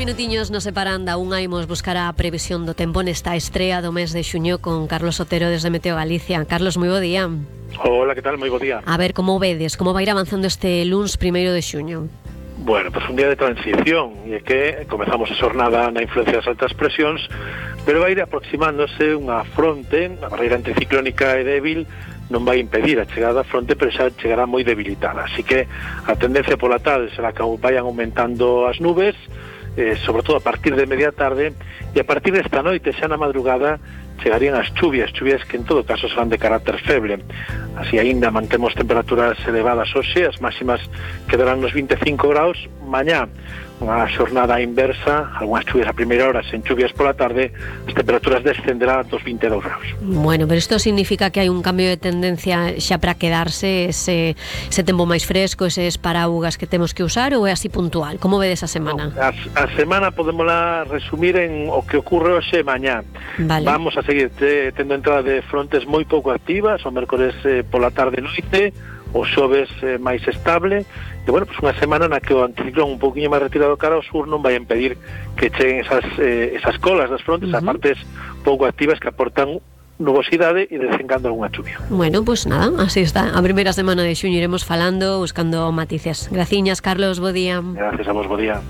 minutiños nos separan da unha, imos buscar a previsión do tempo nesta estrea do mes de xuño con Carlos Otero desde Meteo Galicia. Carlos, moi bo día. Hola, que tal? Moi bo día. A ver, como vedes, como vai ir avanzando este luns 1 de xuño? Bueno, pues un día de transición, e é que comezamos a xornada na influencia das altas presións, pero vai ir aproximándose unha fronte, a barreira anticiclónica e débil non vai impedir a chegada da fronte, pero xa chegará moi debilitada, así que a tendencia pola tarde será que vayan aumentando as nubes, sobre todo a partir de media tarde, e a partir desta noite, xa na madrugada, chegarían as chuvias que en todo caso serán de carácter feble. Así aínda mantemos temperaturas elevadas hoxe, as máximas quedarán nos 25 graus. Mañá unha xornada inversa, algunhas chuvias a primeira hora, sen chuvias pola tarde, as temperaturas descenderán dos 22 graus. Bueno, pero isto significa que hai un cambio de tendencia xa para quedarse ese tempo máis fresco, eses paraugas que temos que usar, ou é así puntual? Como vedes a semana? A semana podémola resumir en o que ocorre hoxe e mañá. Vale. Vamos a seguir tendo entrada de frontes moi pouco activas, o mércores pola tarde e noite, o xoves máis estable, e bueno, pues unha semana na que o anticiclón un pouquinho máis retirado cara ao sur non vai impedir que cheguen esas colas das frontes, a partes pouco activas que aportan nubosidade e desencando algunha chuvia. Bueno, pues nada, así está. A primeira semana de xuño iremos falando, buscando matices. Graciñas, Carlos, bo día. Gracias a vos, bo día.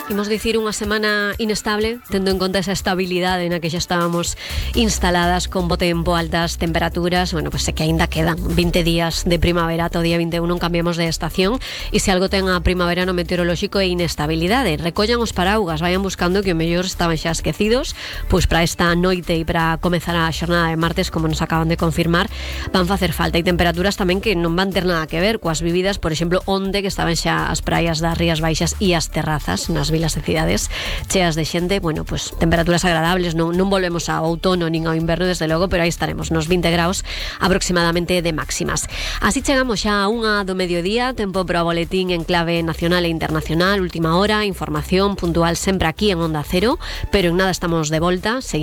Imos dicir unha semana inestable, tendo en conta esa estabilidade na que xa estábamos instaladas con bo tempo, altas temperaturas. Bueno, pues sé que aínda quedan 20 días de primavera, todo día 21 non cambiamos de estación, e se algo ten a primavera no meteorolóxico é inestabilidade. Recollan os paraugas, vayan buscando, que o mellor estaban xa esquecidos, pois para esta noite e para comezar a xornada de martes, como nos acaban de confirmar, van facer falta. E temperaturas tamén que non van ter nada que ver coas vividas, por exemplo, onde que estaban xa as praias das Rías Baixas e as terrazas nas vilas de cidades cheas de xente. Bueno, pues temperaturas agradables, non volvemos ao outono nin ao inverno desde logo, pero aí estaremos nos 20 graus aproximadamente de máximas. Así chegamos xa a unha do mediodía, tempo para o boletín en clave nacional e internacional, última hora, información puntual sempre aquí en Onda Cero, pero en nada estamos de volta, seguimos